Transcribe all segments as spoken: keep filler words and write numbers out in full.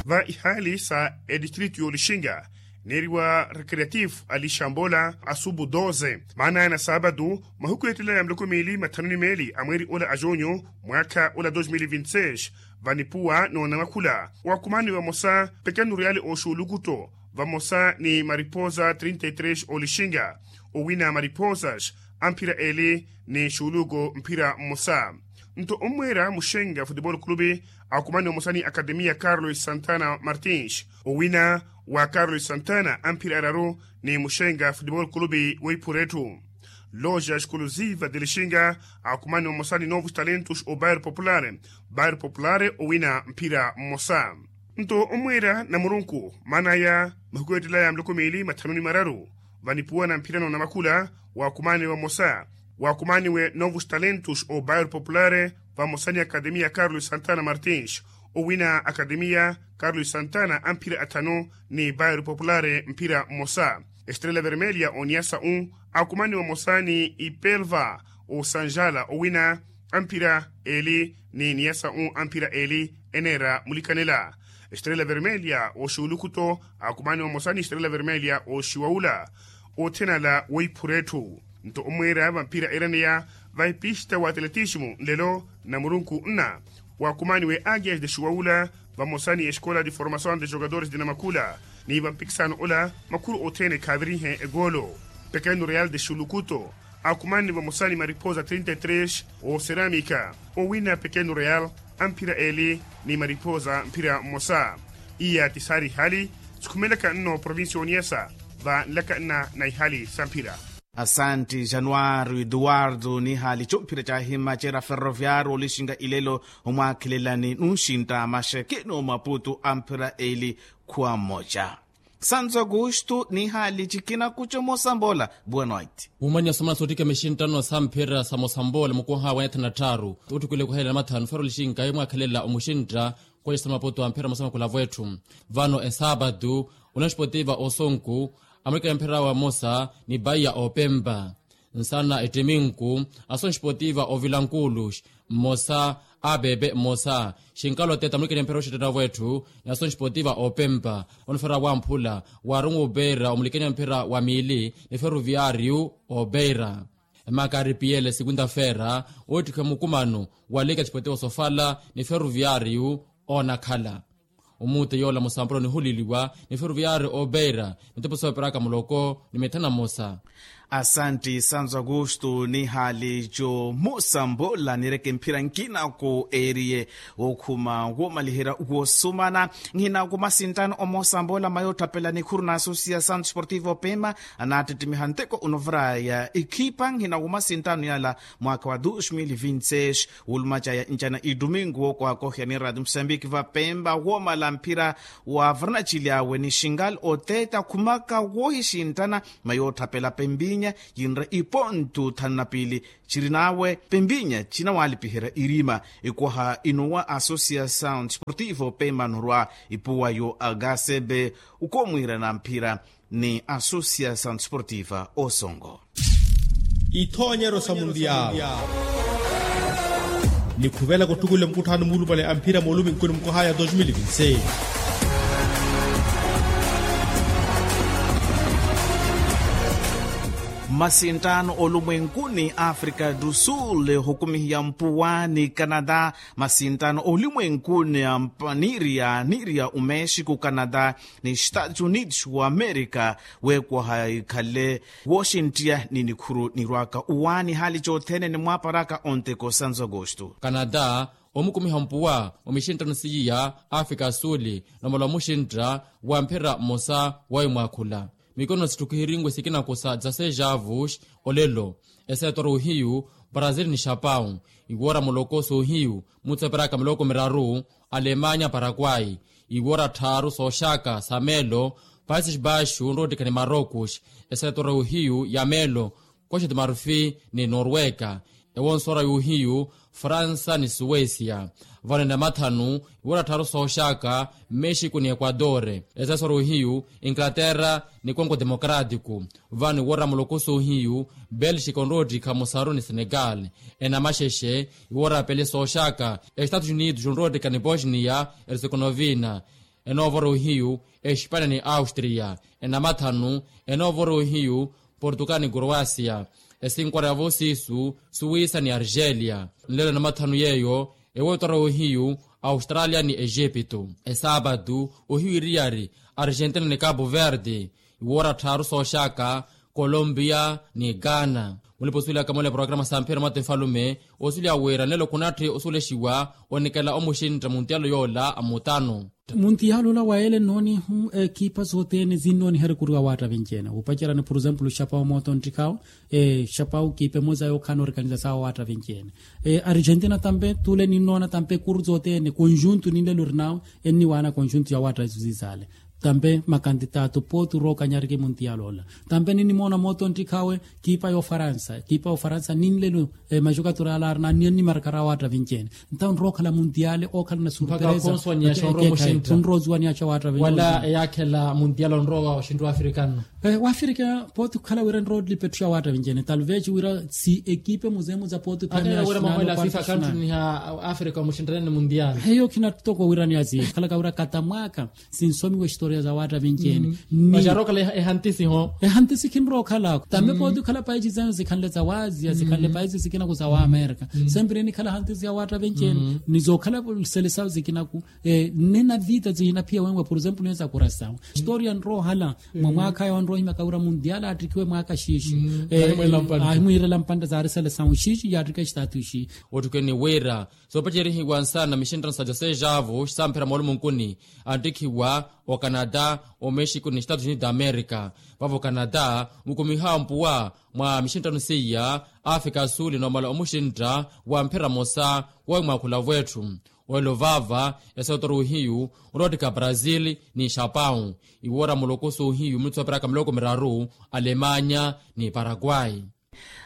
va ihaali sa etistritu y'olixinga neeriwa recreatifu a lixambola asubu doze maana aya na saapatu mahuku eettela ya muloko miili mathanu ni meeli a mweeri ola a junyu mwaakha ola dos mil vinti seis. Vanipuwa n'onamakhula waakumani vamosa pekenu reali oxuulukuto vamosa ni mariposa trinta y tres olixinga owina mariposas amphira eli ni xuuluko mphira mmosa. Nto ommweera muxenga futebol clube akumani vamosa ni akademiya carlos santana martins owina wa carlos santana amphira araru ni muxenga futebol clube weiphura etthu. Loja exclusiva de lixinga akumani vamosa ni novos talentos o bairro popular bairro popular owina mphira mmosa. Nto ommweera namurunku maana aya mahuku eettela ya muloko miili mathanu ni mararu vanipuwa na mphira n'onamakhula waakumaniwe vamosa waakumaniwe novos talentos o bairro popular vamosa ni akademiya carlos santana martins owina akademiya carlos santana amphira athanu ni bairro popular mphira mmosa. Estrela vermelha oniyasa u akumaniwe vamosa ni ipelva osanjala owina amphira eli ni niyasa u amphira eli eneera mulikanela. Estrela vermelha oxuulukuto akumaniwe vamosa ni estrela vermelha oxiwaula othenala weiphura etthu. Nto ommweera vamphira eeraneya va epista wa atletismo nlelo namurunku nna waakumaniwe agias de xuwaula vamosa ni escola de formação de jogadores de namakhula ni vampikisano ola makhuru othene khaavirihe egoolo. Pekeno real de xulukuto akumani vamosa ni mariposa trinta y tres oseramika owina pekeno real amphira eli ni mariposa mphira mmosa. Iya ti saari ihali sikhumelaka nno provincia oniyasa va nlaka nna na ihali sa mphira. Asanti januari eduwardo nihali chomphira chahima chera ferroviario olixinga ilelo omwakhelelani nunxinta maxekeni omaputu amphira eli khuwa mmoja. Santo augusto nihali chikina kucho mosambola. Boa noite. Mumanya somana sotika mixinta nno samphira sa mosambola mukuha wa nyathana tharu. Uttukwile kuhelela mathanu fero lixinka yomwakhelela omuxinta. Kwexa maputu amphira mosamakula vwetthu vano esapatu. Unanxipotiva osonku amulekela mphira wamosa ni paiya opempa. Nsana ettiminku asonxipotiva ovilankulux mmosa. Apepe mmosa xinkalo teta amulekela mphira oxettetta vwetthu ni asonxipotiva opempa. Onifera wamphula waarungu opeira omulekela mphira wa miili ni feruviariu opeira. Emakari piyele sikunta fera oottikha mukumano walika xipotiwa sofala ni feruviariu oonakhala. Omuute yoola musampuro nihuliliwa ni feruviariu opeira mitepo sooperaka muloko ni mithana mmosa. Asanti santo augusto nihali jo musambola nireke mphira nkina ko eriye wokhuma womaliherya wosumana. Nhina kumasintano omosambola mayootthapela nikhuru na asosiya santo sportivo pema anattittimiha nteko unovura ya ekhipa nhina kumasintano yala mwaka wa dos mil vinti seis. Wuluma caya ncana idumingu wokwakohya ni radio musambiki vapemba womala mphira wa varanachili awe ni xingal oteta khumaka wohixintana mayootthapela pembinya yinre ipontu thanu na piili. Chiri nawe pembinya chinawalipiherya irima ikwaha inuwa asosiya sound sportivo pema norwa ipuwa yo agasebe ukomwirana mphira ni asosiya sound sportiva osongo. Ithoonyero sa mundial nikhuvelaka ottukule mukutthano mulupale amphira mooluminkuni mukohaya dos mil vinti seis. Mmasinttano olumwenkuni africa do sul ohukumihiya mpuwa ni canada. Masinttano olumwenkuni ampa niiriya niiriya omexico canada ni estados unidos wa america. Weekwaha ikhale wooxinttiya ni nikhuru nirwaka uwaani haali cothene ni mwaaparaka onteko santo augusto. Canada omukumiha mpuwa omixinttano siiya africa suli nomala omuxintta wa mphira mmosa wa imwaakhula. Mikono sitthukihiriwe sikinakosa dzaseis javos olelo. Eseetora ohiyu brazil ni xapau iwoora muloko soohiyu mutseperaka miloko miraru. Alemanya parakwai iwoora tthaaru sooxaka sa meelo. Paises baixos nroottikha ni marocos eseetora ohiyu ya meelo. Costa de marfil ni norwega ewonsora y'ohiyu fransa ni suwesia. Vano enamathanu iwoora tthaaru sooxaka mexico ni equador. Esesora ohiyu inglaterra ni congo democratico. Vano iwoora muloko soohiyu belxica onroottikha musaru ni senegal. Enamaxexe iwoora pele sooxaka estados unidos onroottikha ni bosnia herzegovina. enoovora ohiyu espania ni austria. Enamathanu enoovora ohiyu portugal ni croacia. Esinkwara yavo siisu suwisa ni argelia. Nlelo enamathanu yeeyo ewootwara ohiyu australia ni egipto. Esaapatu ohiyu iriyari argentina ni capo verde. Iwoora tthaaru sooxaka colombia ni ghana. Mulipa osuwelaka mola eporokaramu sa mphira mwatta efalume osuwelya wira nelo khunatthi osuwelexiwa onikela omuxintta muntiyalo yoola a mutano. Muntiyalo ola wa ele nnoonihu ekipa sothene sinnooniha erikuru ya waatta vinci-ene wupacerani por example xapawu mooto nttikhawu. Xapawu kipa emosa yookhala noorikaniza sawa waatta vinci-ene. Argentina tampe tule ninnoona tampe ekuru sothene conjunto ninlelo orinawe enniwaana conjunto ya waatta isu sisaale. Tampe makantitato pooti orookanyariki muntiyalo ola. Tampe ninimoona mooto nttikhawe kipa y'ofaransa kipa y'ofaransa ninlelo. Maxukatura ala arina anniya nnimarkara awaatta vinci-ene. Ntawo nrookhala muntiyale ookhala na surpresa. Nrowa osuwaniyaxa awaatta vinci-ene wala eyaakhela muntiyale onrowa oxintta w'afrika nno. Wafirika pooti okhala wira nroolipa etthu ya waatta vinci-ene talvez wira si ekipe muzemuza pooti khinattoko wira ni asi khalaka wira katamwaka. Sinsomiwa estoria za waatta vinci-ene. Ni maxa arookhala ehantisi ho. Ehantisi khinrookhalako tampe pooti okhala paisi zenu zikhanle za wasia zikhanle paisi zikinaku za waamerika. Sempre enikhala ehantisi ya waatta vinci-ene ni zookhala selesawu zikinaku. Nne na vita zihinaphiya wenwe por example niye za kurasawu. Estoria nroohala mwa mwaakha ayo anroohimyaka wira mundial aattikhiwe mwaaka xiixi. Ahimwiirela mpantta zaari selesawu xiixi yaattika exitaatu xiixi. Otthukeni wira soopacerihiwa nsana mixinttano sa josé javo samphira moolumunkuni. Anttikhiwa ocanada, omexico ni estados unidos da america. Vavo ocanada mukumiha ompuwa mwa mixinttano seiya. Afrika ya suli noomala omuxintta wa mphira mosa wowi mwaakhula vwetthu. Welo vava esootoru hiyu oroottika brazil ni xapau. Iwoora mulokoso hiyu mulutsoperaka miloko miraru alemanya ni paraguay.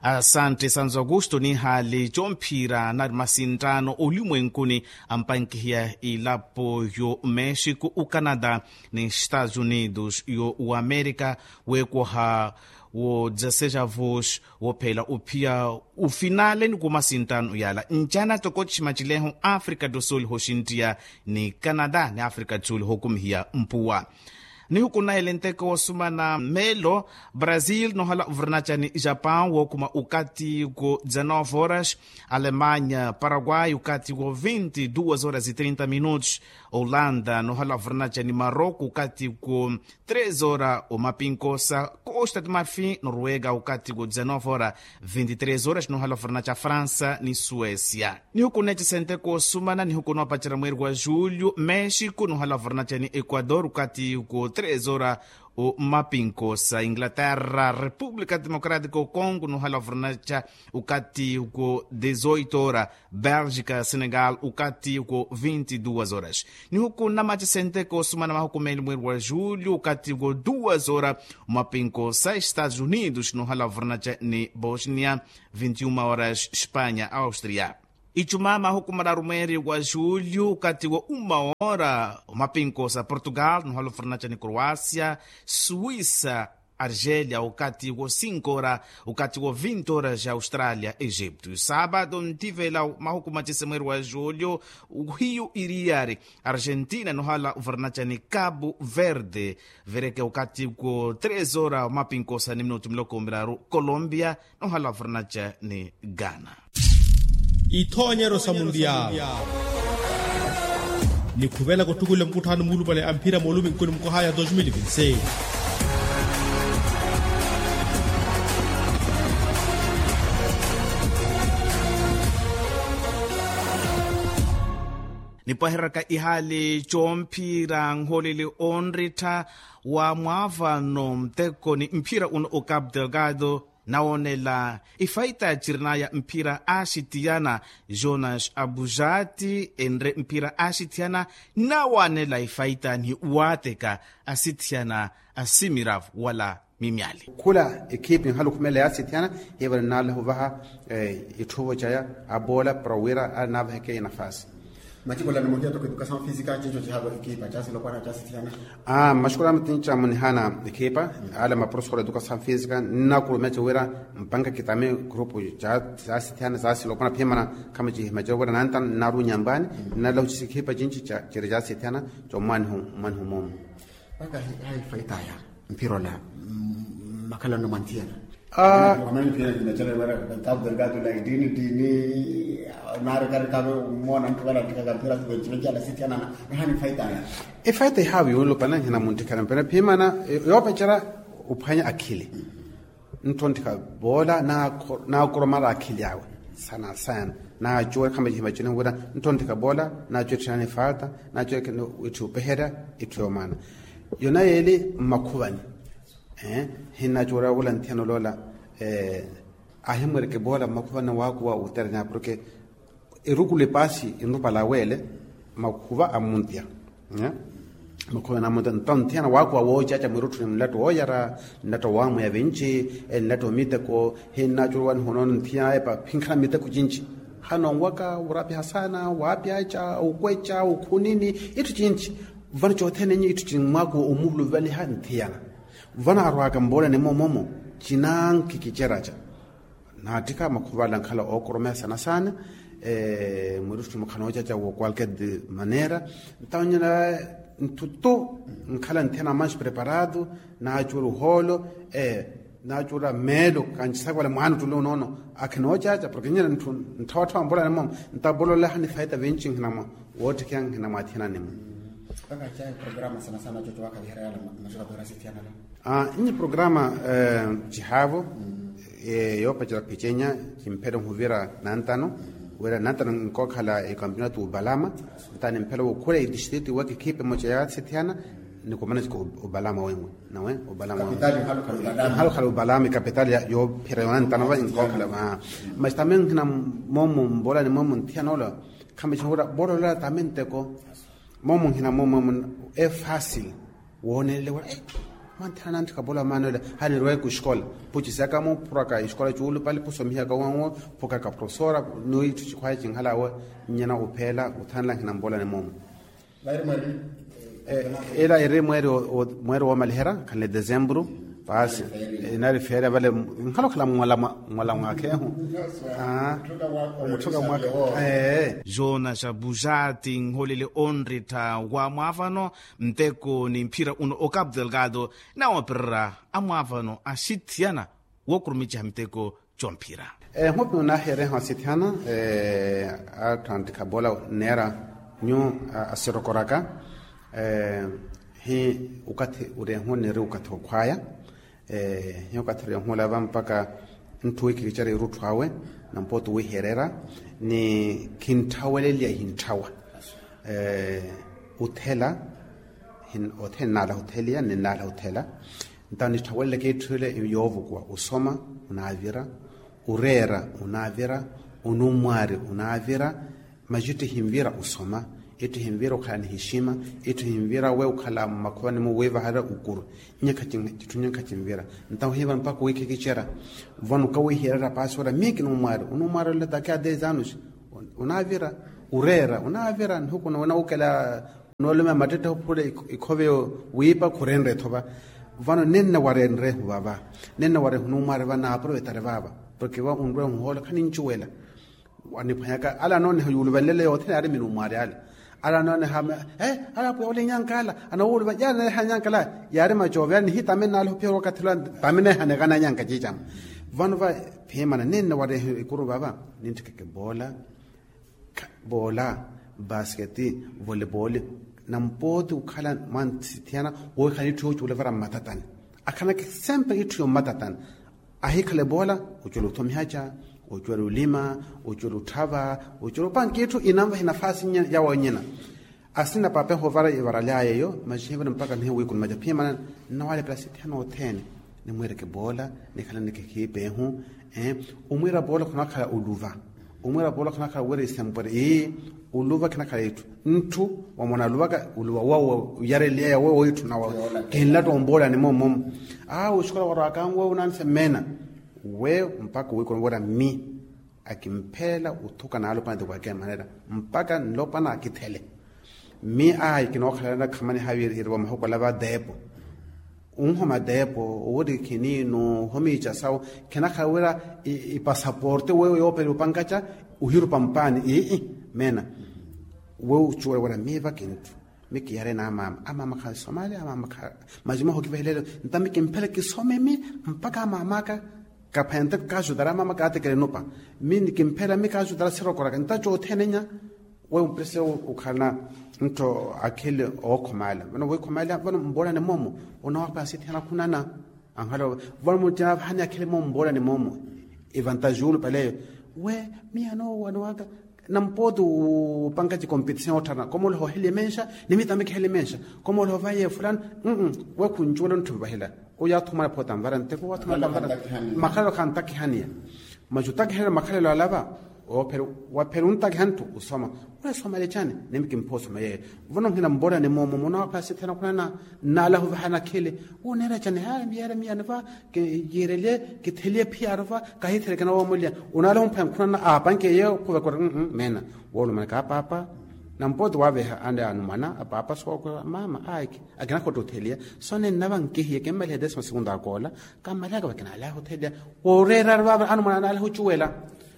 Asantte sanzo augusto nihaali comphira nari masinttaano olimwenkuni ampankihiya ilapo yo mexico ocanada ni estados unidos yo wamerika. Wekoha wo dezasseis avos wophela ophiya ofinale ni kumasinttaano yala ncana toko tximacileho africa do sul hoxinttiya ni canada ni africa do sul hokumihiya mpuwa. Nihuku nahele nteko wosumana melo brazil nohala ovurnaca ni japan wokuma ukati ku dezanove horas. Alemanya paraguay ukati ku vinte duas horas e trinta minutos. Olanda nohala ovurnaca ni maroko ukati ku tres horas omapinkosa. Costa de marfin noruega ukati ku dezanove horas. Vinte tres horas nohala ovurnaca fransa ni suesia. Nihuku neecesente koosumana nihuku noopacerya mweeri wa julio mexico nohala ovurnaca ni equador ukati ku tres horas. Omapinkosa inglaterra república democrática ocongo nohala ovurnaca ukati ku dezoito horas. Bélgica senegal ukati ku vinte duas horas. Nihuku namaacesente koosumana mahuku meeli mweeri wa julio ukati ku duas horas. Omapinkosa estados unidos nohala ovurnaca ni bosnia. Vinte uma horas espanya austria. Icuma mahuku mararu mweeri wa julio ukati wa uma ora omapinkosa portugal nohala ovurnaca ni croacia. Suisa argelia ukati wa cinco ora ukati wa vinte ora ja australia egipto sabado ntivela mahuku macese mweeri wa julio. Hiyu iriyari argentina nohala ovurnaca ni cabo verde. Vereke ukati ku tres ora omapinkosa ni minutu miloko miraru colombia nohala ovurnaca ni ghana. Ithoonyeryo sa mundial. Nikhuvelaka ottukula mukutthano muulupale a mphira mooluminkuni mukohaya dos mil vinti seis. Nipwahereraka ihaali coomphira nholeli onrittha wa mwaavano nteko ni mphira uno ocapu delgado. Nawoonela ifaita cirinaya mphira axithiyana jonas abujati enre mphira axithiyana. Nawaanela ifaita ni waateka asithiyana asimiravu wala mimyali. Khula ekhipi nhalukhumela yaaxithiyana hiivale nnaaleha ovaha itthuvo caya aboola para wira ale naavaheke enafasi. Machikolani muhiya toko edukasamu fisika chincho chihaavo ekipa chasilopwana chasithiyana. Aa mashukuru amitincha munihana ekipa ala maprofesora edukasamu fisika nnakurumecha wira mpanka kitame grupu chasithiyana chasilopwana phimana. Khama chihimacha wira nantano nnarunyambwani nnalahuchisa ekipa chinchi chiri chasithiyana. Chomwanihu mwanihu mumu. Mpaka hayi faitaya mpira ola makhalano mwanthiyana. Wamani mpira ndinachala wara tabu delgado la idini dini. Nari kari kave umona mtu wala ntikaka mpira tuwe chivechala sitiyana. Nahani faitaya. Efaita ihawi yunlupana nhina muntikana mpira phimana yopechera uphwanya akhili. Ntthonthika boola naakoromala akhili awe sana sana. Naacuwe khama chihima chino wira ntthonthika boola naacuwe etthinani faata naacuwe etthu opeherya etthu yomaana. Yona yeeli mmakhuvani. Hinnacuwerya wula nthiyana oloola ahimwereke boola mmakhuvani waakuwa uterenya porke erukulu epaasi enrupala aweele makhuva amuntiya. Makhuva namuntiya nto nthiyana waakuwa woocaca mwirutthuni mlatto wooyara, mlatto waamweya vinci, mlatto miteko. Hinnacuruwani honono nthiyana epa phinkhala miteko cinci. Hanonwaka wurapiha saana waapyaca ukweca ukhunini itthu cinci. Vano cothene nyi itthu cinci mwaakuwa omuluvaliha nthiyana. Vano arwaaka mboolani momomo cinankhi kiceraca. Naattikha makhuvala nkhala ookoromeya sana sana. Mwirutthu mukha noocaca wo qualquer manera. Ntawo nyina nttutu nkhala nthiyana manxi preparado. Naacuwela ohoolo naacuwela meelo kancisaka wala mwaana ottule onoono. Akhi noocaca porke nyina ntthu ntthawatthawa mboolani momo. Ntawo bololeha nifaita vinci nkhina mwa woottikheya nkhina mwaathiyanani mwe. Nnyi programa cihaavo yoopacela picenya kimphele nhuvira nantano. Wira nantano nkookhala ekampeonato opalama. Nta nimphela wokhula etistrito iwaka ekhipa emoca yaasithiyana. Nikumana obalama wenwe nawe obalama wenwe. Nhalokhala obalama ekapitali yoophira yoona ntanova nkookhala. Mas tambe nkhina momo mboolani momo nthiyana ola. Khambe chinhura boola ola tambe nteko. Momo nkhina momo e fácil woonelele wala. Mantthana nantthika boola maana ola. Hanirweke oxikola pucisaka muphuraka exikola cuulupale pusomihaka wanwo. Phukaka profesora. Ni itthu cikhwaya cinkhala awe nyena opheela othanela nkhina mboolani momo. Ela eri mweeri woomalihera khanle desemburu. Paasi. Inari feerya vale nkhala okhala mmwala mwakhehu. Omutthuka mwakhehu. Joona xabuxati nholele onrittha wa mwaavano nteko ni mphira uno o capu delgado. Nawoopererya amwaavano axithiyana wookurumiceha miteko. Comphira ehupi onaahereha osithihana. Atthu anttikha boola neera nyu asirokoraka. Hi okathi orehu niri okathi okhwaya. Hi okathi orehu olava mpaka ntthu wiikhikicerya irutthu awe nampooto wiiherera ni khintthawelela ihintthawa. Othela othene nnaalaha otheliya ni nnaalaha othela. Ntawo nitthaweleleke itthu ile yoovukuwa osoma onaavira, oreera onaavira, onummwaari onaavira. Masi itthu ehinvira osoma, itthu ehinvira okhala ni hixima, itthu ehinvira we okhala mmakhuvanimo wiivaharya okuru. Nnyakha citthu nnyakha cinvira. Ntawo hiiva mpakha owiikhikicerya. Vano okawiihererya paasi ora miyo kinummwaari onummwaari ole taki a dez anos. Onaavira, oreera onaavira nihuku nawukela. Noolumeya mattetthe ophule ikhoveyo wiipa khurenre etho va. Vano nenna warenrehu vava nenna warehu numwari va naaprovetari vava. Porke va onrwehu hoola khanincuwela. Aniphwanyaka ala anooneha yuuluvanlele yothene yaari minumwari ale. Ala anooneha ala apwiya ole inyanka ala anawuuluva yaari neeha anyanka ala. Yaari macoove yaari nihitame nnaala ophiya wakathi lwa tame neeha neekana anyanka ciicama. Vano va phimana nenna warehu ikuru vava nintthikeke boola. Boola, basketi, voleboli, nampooti okhala mwanthithiyana wookhala itthu yoocuwela vara mmatatani. Akhanake sempre itthu yommatatani. Ahikhale boola ocuwela othomihaca, ocuwela olima, ocuwela otthava, ocuwela opanka itthu inanvahe nafasi yawe nyina. Asina paapa ehovara ivara lyaye eyo masi hivara mpakha nihiwe wiikunumaca phimana. Nnawalepela sithiyana othene. Nimwireke boola, nikhalaneke khiipa ehu. Omwiira boola khunakhala oluva. Omwiira boola khunakhala wira isempwere ii. Oluva khinakhala itthu ntthu wamona aluvaka oluva wowo oyareliya yawe woitthu nawe. Khinlatta omboolani momo. Aa oxikola warwaka anwe we unaanise mmeena. We mpakha owiikona wira mmi. Akimphelela othuka naalopwana ti kwalkeer manera mpakha nlopwana akithele. Mmi ayi kinookhalela nakhamani havirihiriwa mahuku ala va teepo. Onhoma teepo owiri khiniino ohomiica sawu. Khinakhala wira ipasaporte weyo yoopela opankaca ohirupa mpaani ii meena. Weyo ocuwela wira mmi vakintthu mmi kiyareni amaama amaama khasomaali amaama kha. Majumaho kivahileelo nta mmi kimphela kisome mmi mpakha amaama aka. Kaphwente kaajutara amaama kaatekele nupa. Mmi nikimphela mmi kaajutara sirokoraka nta cothene nya. Weyo mprese okhalana nttho akhili ookhomaala vano weyo khomaala vano mboolani moomo. Onawapha sithiyana khunana anhala vano muttiya vahani akhili moomo mboolani moomo. Evantaji ulu paleyo we miyano wano waka. Nampooti upankaci competition ottharana komoolaha oheliye menxa. Ni mitami kiheliye menxa komoolaha ovahiye fulano. Weyo khuncuwela ontthu nvahela. Oyo athumana phoota nvara nteko wathumana makhalelo khantakihaniya. Maci otakihela makhalelo alava. Waphela ontakiha nthu osoma. Wala somale cani? Nimi kimpha osoma yeyo. Vano nhina mboolani moomo munawaphela sithena khunana. Nnaalaha ovahana akhili. Wuneera cani haya miyere miyani va. Kiirelye kitheliye phiyaaru va. Kahitheleke nawoomoleya. Unaalaha omphwanya khunana aapanke yeyo khuvekora. Meena woolumanaka apaapa. Nampooti waaveha ande anumwana apaapa sookwela maama aiki. Akinakhotta otheliya. Sone nnava nkihiye kimmalihe desima segundu akoola. Kammalihaka vakinaalaha otheliya. Wooreerari vaava anumwana anaalaha ocuwela.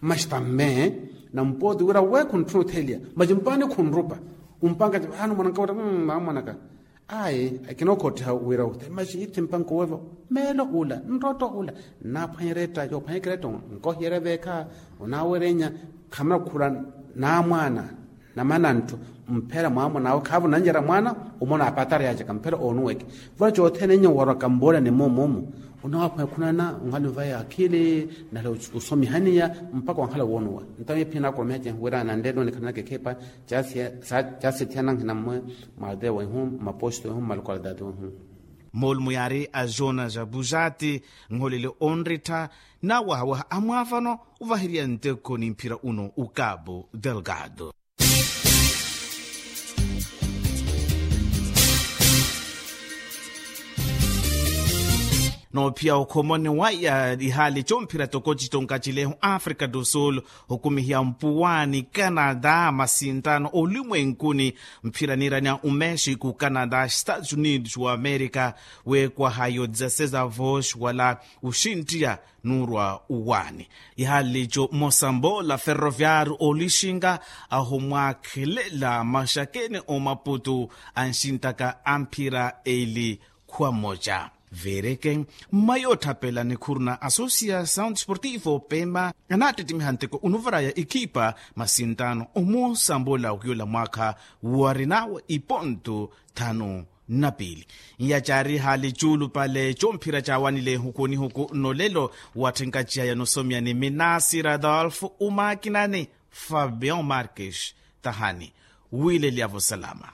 Masi tamme. Nampooti wira we khuntthuna otheliya. Masi mpaani khunrupa. Ompanka ti vaano mwananka wira mmaamwanaka. Ayi akinookhottiha wira otheliya masi ithi mpanka owevo. Meelo ula nrotto ula. Nnaaphwanyerya etta yoophwanyerya etta. Nkohiyerya veekha. Onaawerenya. Khamuna khukhula naamwaana. Namanantto. Mphela mwaamuna awe khaavo nannyerya mwaana. Omona apatari yaacaka mphela oonuweke. Vale cothene nyo warwaka mboolani moomo omu. Onaaphwanya khunana onhali ovaya akhili. Nahela osomihaniya. Mpakha wanhala woonuwa. Ntawe ephiya naakuromeha cehi wira nanlelo nikhananaka ekhepa. Caasithiya nankhina mmwe. Mwateya wehu mmaposto wehu mmalokalidade wehu. Moolumo yaari a jonas bujati. Nholele onrittha. Nawahawaha amwaavano ovaheriya nteko ni mphira uno okapo delgado. Noophiya okhomoni waya ihaali comphira toko citonka cilehu africa do sul. Hukumihiya mpuwani canada masintano olimwenkuni. Mphira niiraniya omexico canada estados unidos wa america. Weekwaha yo dezasseis avos wala oxinttiya nuurwa owaani. Ihaali co mosambola ferroviario olixinga ahumwaakhelela maxakeni omaputu. Anxintaka amphira eli khwa moca. Veereke mmayi ootthapela nikhuru na associação desportivo pema anaattittimiha nteko onuvaraya ekhipa masintano omosambola wiyola mwaakha. Warinawe iponto thanu na piili. Nyacaari haali cuulupale comphira caawanile huku ni huku nolelo. Watthenkaciha yanosomiya ni minasi radolfo omaakinani fabian marques. Tahani wiilelyavo salama.